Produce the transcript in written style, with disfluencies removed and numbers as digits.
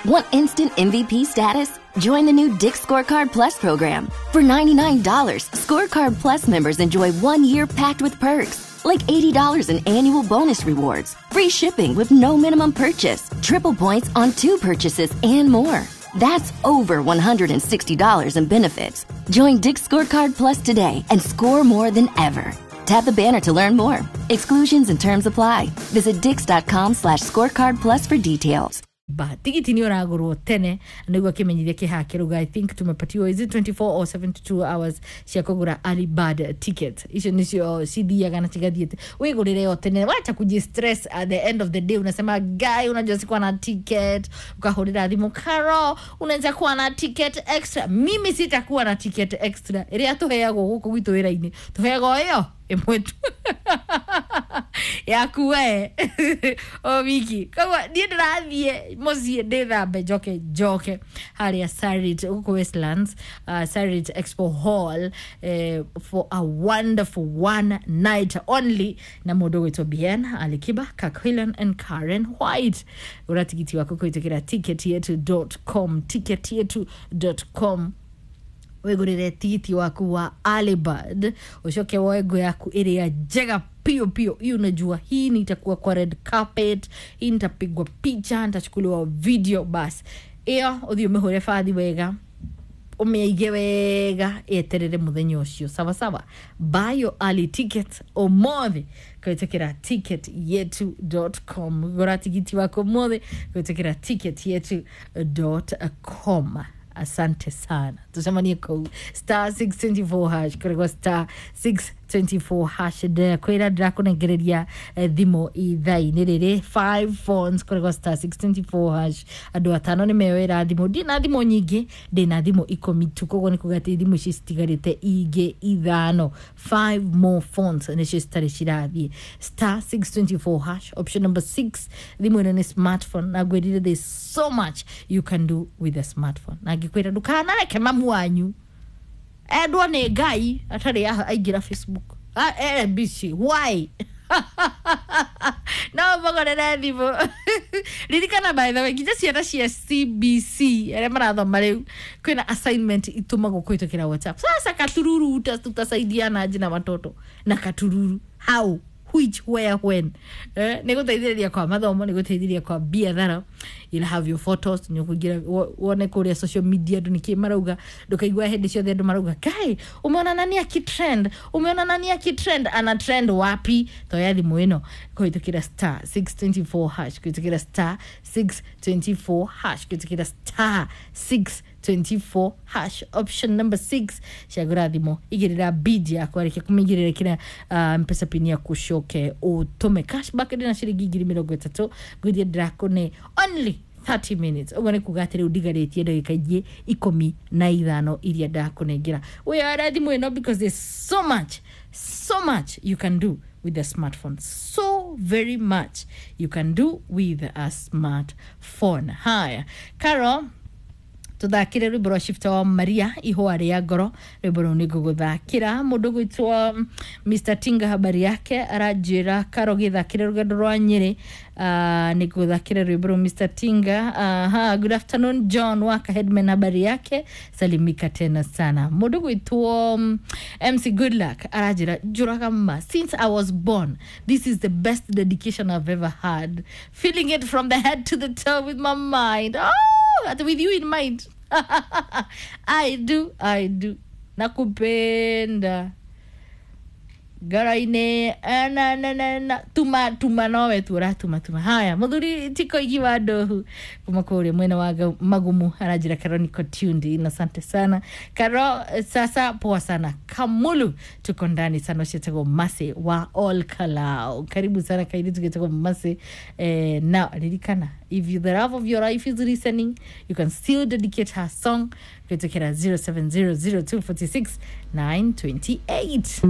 Want instant MVP status? Join the new Dick's Scorecard Plus program. For $99, Scorecard Plus members enjoy 1 year packed with perks, like $80 in annual bonus rewards, free shipping with no minimum purchase, triple points on two purchases, and more. That's over $160 in benefits. Join Dick's Scorecard Plus today and score more than ever. Tap the banner to learn more. Exclusions and terms apply. Visit dix.com/scorecard plus for details. Ba tigiti nä å ragå rwo tene nä guo kä menyithia kä haha kä rauga. I think tumepatiwa, is it 24 or 72 hours cia kå gå ra early bird ticket. Icio nicio cithiaga na cigathiä wä gå rä re o tene, wacha kuji stress at the end of the day unasema, "Guy, unajua sikuwa na ticket." Ukahå rä ra thimå, "Karo, unaweza kuwa na ticket extra?" Mimi sitakuwa na ticket extra. Ä rä a tå heagwo gå kå gwitå wä ra-inä tå heagwo ä yo ä mwe tu yaku we o wiki. Koguo niä ndä rathiä må ciä ndä thambe njoke njoke harä a Sarit gå kå Westlands, Sarit Expo Hall, for a wonderful one night only na må ndå gwä two Bien Alikiba, Kakwilan and Karen White. Gå tigiti waku kå kä ra ticketyetu.com, ticketyetu.com, wigurire tigiti waku wa Alibad, ucoke woe ngo yaku ĩrĩa njega pio pio. Hii unajua hii nitakuwa kwa red carpet, hii nitapigwa picha, nitachukuliwa video. Bas ĩyo ũthiĩ ũmĩhũre bathi wega, ũmĩaige wega, yeterere mũthenya ũcio. Sawa sawa, buy your early ticket ũmũthĩ kũhĩtũkĩra ticketyetu.com. Gũra tigiti waku ũmũthĩ kũhĩtũkĩra ticketyetu.com. Asante sana, tucemanie kũu. *624 hash, kũrĩgwo *624 hash. Kwĩra ndĩrakũnengereria thimũ ithaa-inĩ rĩrĩ, 5 phones, kũrĩgwo *624 hash. Andũ atano nĩ meyoera thimũ. Ndĩ na thimũ nyingĩ, ndĩ na thimũ 10 tu. Koguo nĩ kuga atĩ thimũ ici citigarĩte ingĩ ithano, 5 more phones nĩcio citarĩ cirathiĩ. *624 hash, option number 6. Thimũ ĩno nĩ smartphone na ngwĩrire there's so much you can do with a smartphone, na ngĩkwĩra ndũkanareke mamu wanyu endwo nĩ Ngai atarĩ aingĩra Facebook. Ah, busy why no mũgũrĩre thimũ. Ririkana, by the way, nginya ciana cia CBC arĩa marathoma rĩu kwĩna assignment itũmagwo kũhĩtũkĩra WhatsApp. Sasa katururu tutasaidiana aje na watoto na katururu? How, which, where, when? Nä gå teithä rä ria kwa mathomo, nä gå teithä ria kwa biathara. You'll have your photos, nä å kå wone kå rä a social media andå nä kä marauga. Ndå kaigua hä ndä ciothe andå marauga, "Kai, umeona nani akitrend? Umeona nani akitrend?" Ana trend wapi? Toya thimå ä no kå hä tå kä ra *624 hash, kå hä tå kä ra *624 hash, kå hä tå kä ra *624 hash, option number 6. Cagå thimå, igä rä ra bid yaku. Arä kia kå mä igä rä ra kä mpesa pin yaku, coke å cashback. Ndä na ciringi 30,000 ngwithie ndĩrakũne only 30 minutes. Ũguo nĩ kuga atĩ rĩu ndigarĩtie ndagĩka ingĩ 15 iria ndakũnengera wĩyoere thimũ ĩno, because there's so much, so much you can do with a smartphone, so very much you can do with a smartphone. Haya, Caro, tuthakire rwimbo rwa Shifta wa Maria, Ihũa rĩa Ngoro. Rwimbo rũu nĩ ngũgũthakĩra. Mũndũ gwĩtwo Mr Tinga, habari yake, aranjĩra, "Karo, gĩthakĩre Rũgendo rwa Nyĩrĩ." Nĩ ngũthakĩra rwimbo rũu, Mr Tinga. Aha, good afternoon John Waka Headman, habari yake, salimika tena sana. Mũndũ gwĩtwo MC Goodluck aranjĩra, "Njũraga ma, since I was born this is the best dedication I've ever had, feeling it from the head to the toe with my mind." Oh, with you in mind. I do, I do. Nakupenda ngoro-inĩ na, na, na, na. Tuma tuma nowe tu ũratuma tuma. Haya, mũthuri tiko igi wa ndohu kuma kũrĩa mwena wa Magumu aranjĩra, "Karo, niko tuned in." Asante sana, Karo. Sasa poa sana, Kamulu, tuko ndani sana. Ũcio Mase wa All Kalau, karibu sana kairi tũgĩtagwo Mase. Na ririkana, if you, the love of your life is listening, you can still dedicate her song kũhĩtũkĩra 0700 246 928.